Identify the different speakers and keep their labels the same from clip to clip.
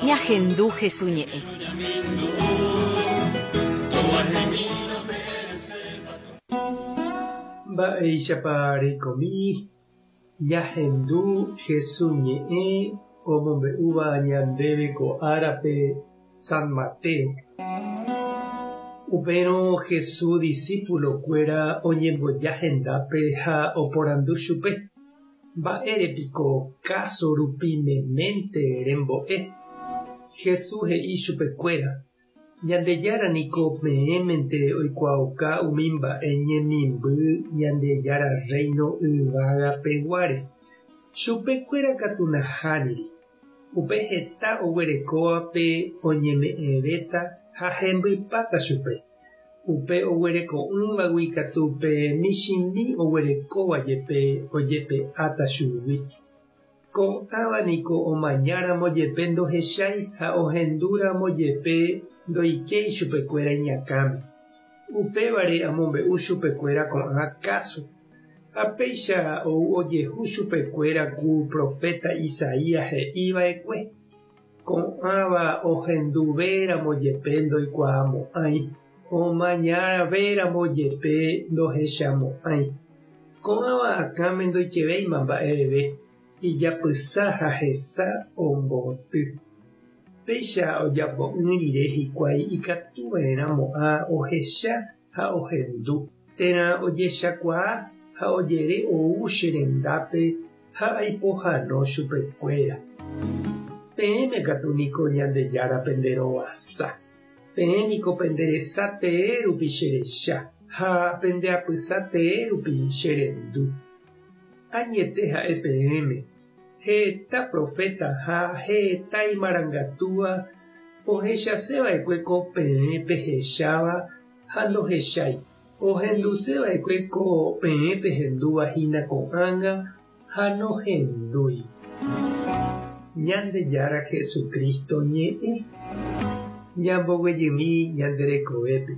Speaker 1: Ñahendu Hesu ñe'ẽ.
Speaker 2: Mba'éichapa reikomi ñahendu Hesu ñe'ẽ omombe'úva ñandéve ko árape San Mateo. Upérõ Hesu disípulokuéra oñemboja hendápe ha oporandu chupe, Mba'ére piko káso rupi meménte rembo'e? Jesús he'i chupekuéra, Ñandejára niko peẽmente oikuaauka umi mba'e ñemimby Ñandejára Rréino yvágapeguáre. Chupekuéra katu nahániri. Upe heta oguerekóvape oñeme'ẽvéta ha hembypáta chupe. Upe oguereko'ỹvagui katu pe michĩmi oguerekóva jepe ojepe'áta chugui. Ko'ãva niko omañáramo jepe ndohechái ha ohendúramo jepe ndoikéi chupekuéra iñakãme. Upévare amombe'u chupekuéra ko'ã káso. Ha péicha ou ojehu chupekuéra ku proféta Isaías he'i va'ekue, Ko'ãva ohenduvéramo jepe ndoikuaamo'ãi, omañavéramo jepe ndohechamo'ãi. Ko'ãva akãme ndoikevéima mba'eve, ijapysa ha hesa omboty. Péicha ojapo'ỹ rire hikuái ikatuva'erãmo'ã ohecha ha ohendu, térã ojechakuaa ha ojere ou che rendápe ha aipohano chupekuéra. Peẽme katu niko Ñandejára pende rovasa. Peẽ niko pende resa tee rupi che recha, ha pende apysa tee rupi che rendu. Añete ha'e peẽme, heta proféta ha heta imarangatúva ohechase va'ekue ko peẽ pehecháva ha ndohechái. Ohenduse va'ekue ko peẽ pehendúva hína ko'ág̃a ha nohendúi. Ñandejára Jesucristo ñe'ẽ ñamboguejymi ñande rekovépe.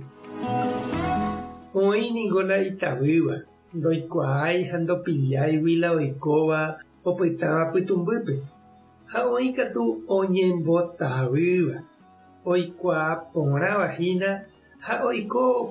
Speaker 2: Oĩ ningo la itavýva, ndoikuaái ha ndopilláigui la oikóva opytáva pytũmbýpe, ha oĩ katu oñembotavýva, oikuaa porãva hína ha oiko.